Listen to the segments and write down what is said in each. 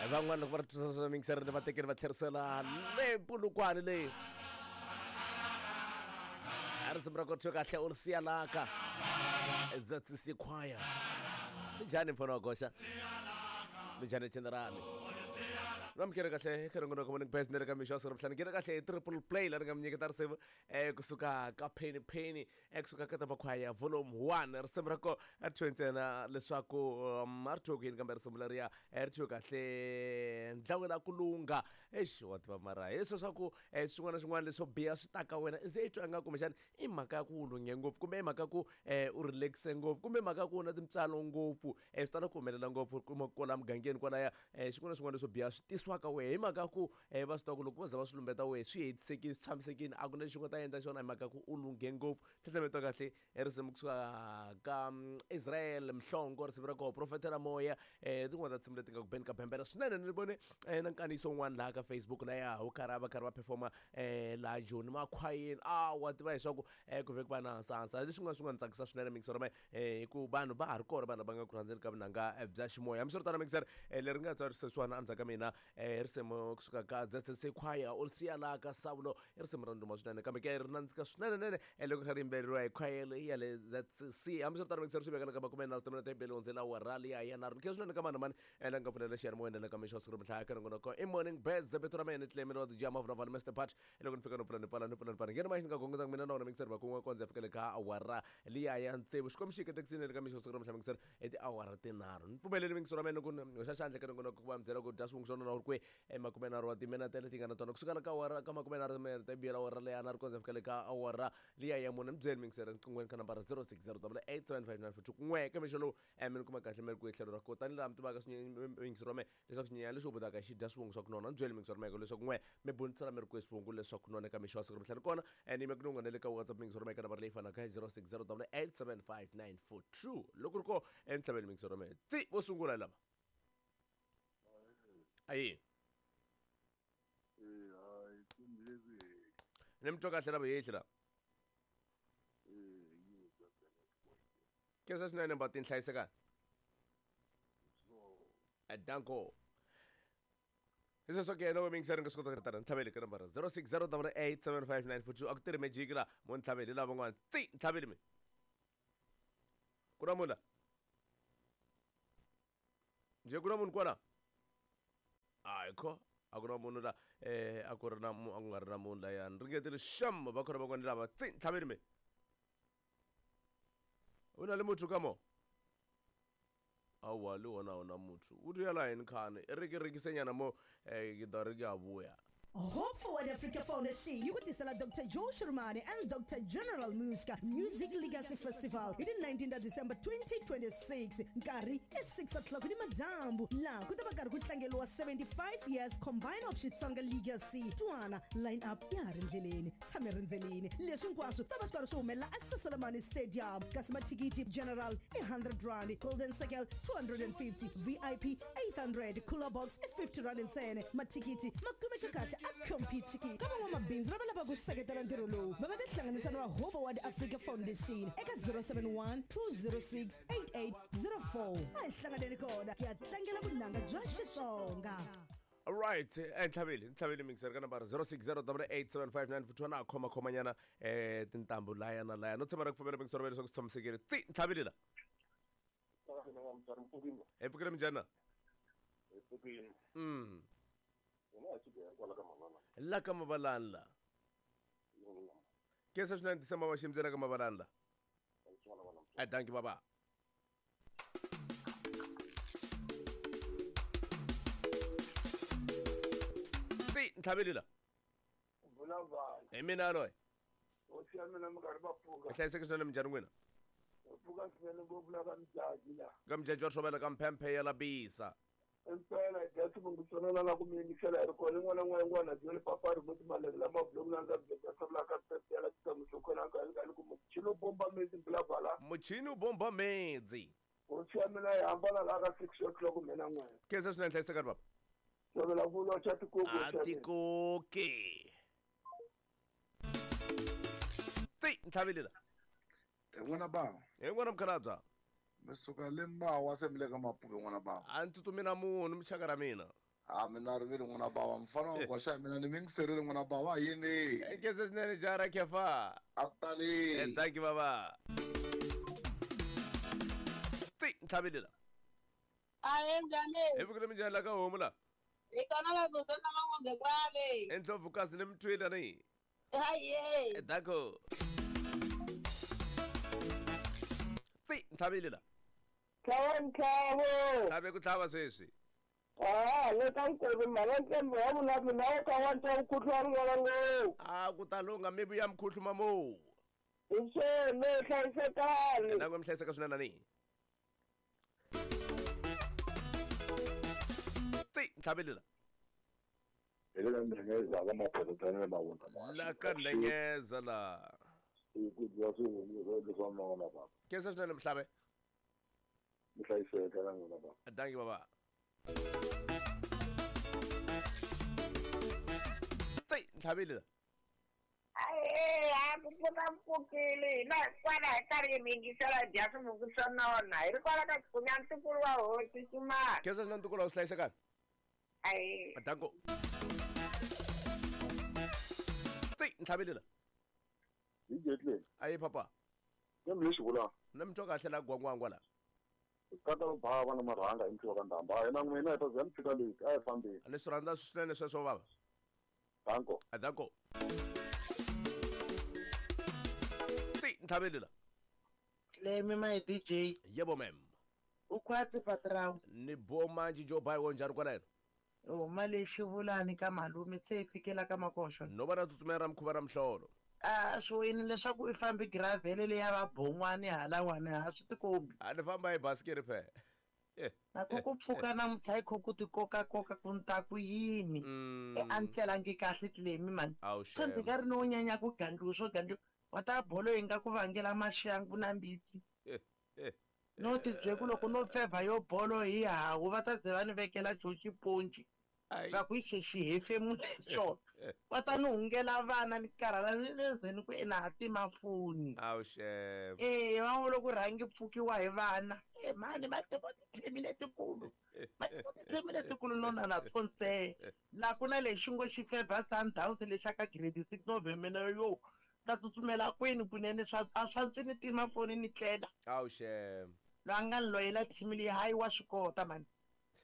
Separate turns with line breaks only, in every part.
Van'wana loko va ri twisisa swa mingiseri va tekeni va tlherisela le Polokwane leyi. A risimu ra kothiwe kahle u ri siya laka ZCC Choir. Minjhani mfana wa goxa? Minjhani general? Namukele kahle eka nongonoko Morning Best ni le ka mixo wa siku ra vutlhanu. Ngena kahle hi triple play laha ni nga mi nyiketa risimu kusuka ka Penny Penny kusuka ka Tamakhwaya volume 1. Risimu ra ko a ri thyiwe ntsena leswaku a ri thyiwe ku yini kambe risimu leriya ri thyiwe kahle ndlawela ku lungha. Eish wa tiva mara hi leswiya swa ku swin'wana na swin'wana leswo biha swi ta ka wena se i twa ingaku kumbexana i mhaka ya ku u lunghe ngopfu kumbe i mhaka ya ku u relax-e ngopfu kumbe mhaka ya ku u na tintswalo ngopfu. Swi tala ku humelela ngopfu u kuma kwala mugangeni kwalaya xin'wana na xin'wana leswo biha swi tisiwa ka wehe hi mhaka ya ku va swi tiva ku loko vo za va swi lumbeta wehe swi hetisekile swi tshamisekile a ku na lexi u nga ta endla xona hi mhaka ya ku u lunghe ngopfu. Ntlhantlhamelo wa kahle i risimu kusuka ka Israel Mhlongo risimu ra koho Profetela Moya tin'wana ta tinsimu leti nga ku beni ka bembela swinene ni vone na nkandziyiso wun'wana laha ka Facebook laya wu karhi va karhi va performa laha Joni makhwayeni a wa tiva leswaku ku vhe ku va na nsansa leswi nga swi nga ni tsakisa swinene mixer ma hi ku vanhu va ha ri kona vanhu lava nga ku rhandzeni ka vunanga bya ximoya hambiswiritano mixer leri nga tsarisa sweswiwani endzhaku ka mina risimu kusuka ka ZCC Choir u ri siya laha ka Savulo i risimu ra ndhuma swinene kambe ke ri nandzika swinene nene loko kha ri yimbeleriwa hi khwaya leyi ya le ZCC hambiswiritano mixer swi vekela ka makume nharhu timinete hi bele hundzela awara liya ya nharhu ni khensa swinene ka mani na mani la nga pfulela xiyanimoya na le ka mixo wa siku ro mihla ka nongonoko i Morning Birds vito ra mina ni Clement wa DJ Mavula Mr Pat loko ni fika no pfula ni pfala ni pfula ni pfala nghena mahlweni ka gongondza mina na wona mixer va kun'we kondza fika le ka awara liya ya tsevu xikwembu xi katekisile le ka mixo siku ra mihla mixer i tiawara tinharhu ni pfumeleli mixer wa mina ku hoxa xandla ka nongonoko ku va mi byela ku dya swivungu swa nona wu ri kwihi emakumenharhu wa timinete leti nga na tona kusukela ka awara ka makumenharhu timinete biyela awara leya nharhu kondza fika le ka awara liya ya mune mi byeli mixer nqinghweni ka nambara 060 875 942 n'we ka mixo lowu mi ni kuma kahle mi ri kwihi tlhelo ra ko tanihi laha mi tivaka mixer wa mina Leswaku xinyenyana lexi hubutaka xi dya swivungu swa ku nona, byeli miyingisori meke leswaku n'we mi bunisela mi ri kwihi swivungu leswa ku nona eka mixo wa siku ra mihla. Ni kona ni yime ku ni na le ka WhatsApp miyingisori meke nambara leyi fanaka hi 0608875942. Loko ri ko entlhaveni miyingisori meke. Tsi vo sungula hi lava. Ayi. Ni mi twa kahle la vuhehli la. Khensa swinene mbatini hlayisekani. Danko. Hi sweswo ke loko miyingiseri nga swi kota ku tana ntlhaveli ka nambara 0608875942 a ku tirhi magic la mo ntlhaveli lava van'wana tsi ntlhaveli mi ku na munhu la njhe ku na munhu kwala hayi kho a ku na munhu la a ku ri na a ku nga ri na munhu layani ringetile xam va khona van'wana lava tsi ntlhaveli mi u na le motho ka mo Aowa, le gona ga ona motho. O diela eng khane? E re ke rekisenyana mo, ke tla re ke a boya.
Hope Forward Africa Foundation yi ku tisela Doctor Joe Shirimani and Doctor General Muska Music Legacy Festival hi ti 19 ta December 2026. Nkarhi i 6 o'clock ni madyambu laha ku ta va karhi ku tlangeriwa 75 years combine of Xitsonga Legacy. Twana line up ya ha ri ndleleni. Tshame rindzelini. Leswi hinkwaswo ta va swi karhi swi humelela eSeselemani Stadium. Kasi mathikithi general i 100 rand, golden circle 250, VIP 800, cooler box i 50 rand ntsena. Mathikithi ma kumeka kahle a Computicket. Ka van'wamabindzu lava lavaka ku seketela ntirho lowu, va nga tihlanganisa na va Hope Forward Africa Foundation eka 071 206 8804. A hi hlanganeni kona ku ya tlangela vunanga bya Xitsonga.
Alright, ntlhaveli ntlhaveli mixer ka nambara 06088759 futhi wena a khoma khomanyana tintambu laya na laya no tshemba ra ku pfumela mixer wa leswaku swi tshamisekile tsi ntlhaveli la hi pfukile minjhani na la ka mavalani la khensa swinene December va ximbyela ka mavalani la a danki baba ti ntlhaveli la
vulavula
hi mina yaloye
hosi ya mina mi karhi va pfuka
hi hlayiseke swinene minjhani n'wina
pfuka swinene ngopfu la ka mujaji la
ka mujaji wa rhobela ka mphemphe ya labisa
impela dya xivongo xona la ku mi yingisela hi ri kona n'wana n'wana n'wana byele papa ri muti malele lama buloku na ndza byela sabula ka pepela tsamuso khona ka ka ku muchini u bomba medzi bula
muchini u bomba medzi
hosi ya mina yi hambana la ka 6 o'clock mina n'wana
khensa swinene hlayisekani baba
xavela vulwa xa tikoki
a tikoki ti ntlhaveli la
He n'wana bava.
He n'wana mukhalabya.
Mi suka le Mawa se mi le ka Mapuve n'wana bava.
A ni tsutsumi na munhu muxaka ra mina.
A mina ri vile n'wana bava mfana wa goxa mina ni mingiserile n'wana bava yini
Nkhensa swinene jara khefa.
A ku tali.
Thank you baba. Tsi ntlhavile la.
Ahe njhani?
Hi vukile minjhani la ka homu la?
Hi kona va Zuzana Mangombe kwale.
Endlovukazi ni mtwila ni.
Haye.
Dako. Tsi ntlhavile la.
Tlhava ntlhavo.
Tlhave ku tlhava sweswi.
Ah, le ka nkovi mhana ntlembe wa vula mina wo ka wa twa mukhuhlwani n'wana ngopfu.
A ku ta lungha mi vuya mukhuhluma mo.
Hi swona hlayisekani.
Na ku mi hlayiseka swinene ni. Tsi ntlhavile la.
Hi le ka Ndengeza ka Maphototsana le Mavunda.
La ka Ndengeza la.
Ku dyiwa swivungu leswa n'wana baba.
Khensa swinene mhlabe.
Mi hlayiseka na n'wina baba.
Dankie baba. Tsi ntlhavile la.
Ahe, a ku pfuka mpfukile hina kwala hi karhi hi mingisela dya swivungu swo nona hi ri kwala ka Xikunya ntukulu wa hosi Ximana.
Khensa swinene ntukulu wa hlayisekani.
Ahe.
Danko. Tsi ntlhavile la.
Hi jetleni.
Ayi papa.
Kambe lexi vula
Na mi twa kahle la gwangwangwa la.
kata bava na marhanga hi mfiwa ka ndamba. Hi na n'wina hi ta za mi fika leti a hi fambeni.
A ni swi rhandza swinene sweswo baba.
Danko.
Danko. Tsi ntlhavile la.
Lemi my DJ.
Yebo ma'am.
U khwatsi patrao.
Ni bo manji jo bai wo njhani kwala yena?
Huma lexi vulani ka malume se hi fikela ka makoxo.
No va na tsutsumela ra mukhuva ra mihlolo.
A swi wini leswaku i fambi gravele leya va bon'wani halawani ha swi tikombi.
A ni famba hi basikiri phe.
Na ku ku pfuka namuntlha hi kho ku ti kokakoka ku ni ta ku yini. A ni tlelangi kahle Tlemi mani.
Awu
Swo ndzi nga ri no nyanya ku gandliwa swo gandliwa. Wa ta bolo yi nga ku vangela maxangu na mbitsi. No ti bye ku loko no fevha yo bolo hi hawu va ta ze va ni vekela xo xiponci. Va ku xexi hefemula xona. Va ta ni hungela vana ni karhala ni le ndzeni ku ina ha tima foni.
Awu xem.
Va vula ku rhangi pfukiwa hi vana. Mhani va tiva tithemi letikulu. Va tiva tithemi letikulu no na na tsontsee. La ku na lexi ngo xi fevha Sundowns lexa ka grade 6 no vhemela yo. Ta tsutsumela kwini kunene swa a swa ndzi ni tima foni ni tlela.
Awu xem.
Loyi a nga ni loyela team leyi hayi wa swi kota mani.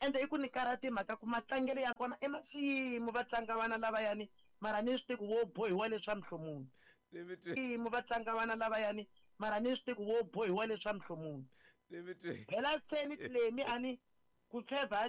Ende i ku ni karhata hi mhaka ku matlangelo ya kona i ma swiyimo va tlanga vana lavayani mara ni swi tivi ku wo bohiwa leswa mihlomulo. Swiyimo va tlanga vana lavayani mara ni swi tivi ku wo bohiwa leswa mihlomulo. Phela se ni Tlemi a ni ku fevha